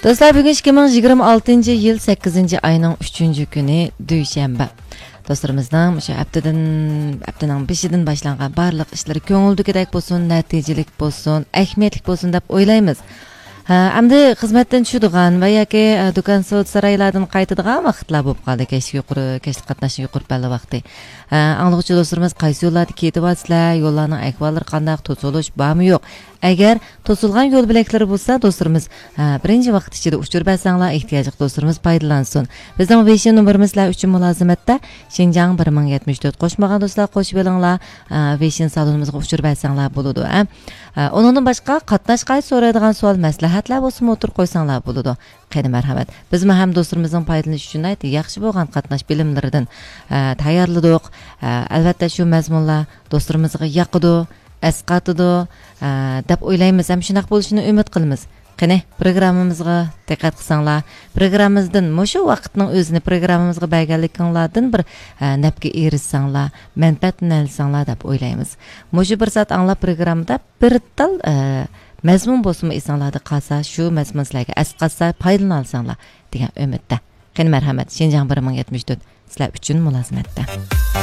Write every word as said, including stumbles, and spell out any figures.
دوستلار، بۈگۈن ئىككى مىڭ يىگىرمە ئالتىنچى يىل سەككىزىنچى ئاينىڭ ئۈچىنچى كۈنى، دۈشەنبە. دوستلىرىمىزنىڭ مۇشۇ ھەپتىدىن، ھەپتىنىڭ بېشىدىن باشلانغان بارلىق ئىشلىرى كۆڭۈلدىكىدەك بولسۇن، نەتىجىلىك بولسۇن، ئەھمىيەتلىك بولسۇن دەپ ئويلايمىز. ھە، ئەمدى خىزمەتتىن چۈشىدىغان ۋە ياكى، ئە، دۇكان سودا سارايلاردىن قايتىدىغان ۋاقىتلار بولۇپ قالدى. كەچلىك يۇقىرى، كەچلىك قاتناشنىڭ يۇقىرى پەللە ۋاقتى. ھە، ئاڭلىغۇچى دوستلىرىمىز قايسى يوللاردا كېتىۋاتىسىلەر، يوللارنىڭ ئەھۋاللىرى قانداق، توسۇلۇش بارمۇ يوق؟ ئەگەر توسۇلغان يول بۆلەكلىرى بولسا، دوستلىرىمىز، ھە، بىرىنچى ۋاقىت ئىچىدە ئۇچۇر بەرسەڭلار، ئېھتىياجلىق دوستلىرىمىز پايدىلانسۇن. بىزنىڭ ۋېيشىن نومۇرىمىز سىلەر ئۈچۈن مۇلازىمەتتە، شىنجاڭ بىر مىڭ يەتمىش تۆت. قوشمىغان دوستلار قوشۇۋېلىڭلار، ھە، ۋېيشىن سالونىمىزغا ئۇچۇر بەرسەڭلار بولىدۇ، ھە. ھە، ئۇنىڭدىن باشقا قاتناش قائىدە سورايدىغان سوئال، مەسلىھەتلەر بولسىمۇ ئوتتۇرىغا قويساڭلار بولىدۇ. قېنى مەرھەمەت. بىزمۇ ھەم دوستلىرىمىزنىڭ پايدىلىنىشى ئۈچۈن ناھايىتى ياخشى بولغان قاتناش بىلىملىرىدىن، ھە، تەييارلىدۇق. ھە، ئەلۋەتتە شۇ مەزمۇنلار دوستلىرىمىزغا ياقىدۇ، ئەسقاتىدۇ، ھە، دەپ ئويلايمىز ھەم شۇنداق بولۇشىنى ئۈمىد قىلىمىز. قېنى، پروگراممىمىزغا دىققەت قىلساڭلار، پروگراممىمىزدىن مۇشۇ ۋاقىتنىڭ ئۆزىنى پروگراممىمىزغا بەرگەنلىكىڭلاردىن بىر، ھە، نەپكە ئېرىشسەڭلار، مەنپەئەتلىنەلىسەڭلار دەپ ئويلايمىز. مۇشۇ بىر سائەت ئاڭلاپ پروگراممىدا بىر تال، ئە، مەزمۇن بولسىمۇ ئېسىڭلاردا قالسا، شۇ مەزمۇن سىلەرگە ئەسقاتسا، پايدىلىنالىساڭلار دېگەن ئۈمىدتە. قېنى مەرھەمەت، شىنجاڭ بىر مىڭ يەتمىش تۆت سىلەر ئۈچۈن مۇلازىمەتتە.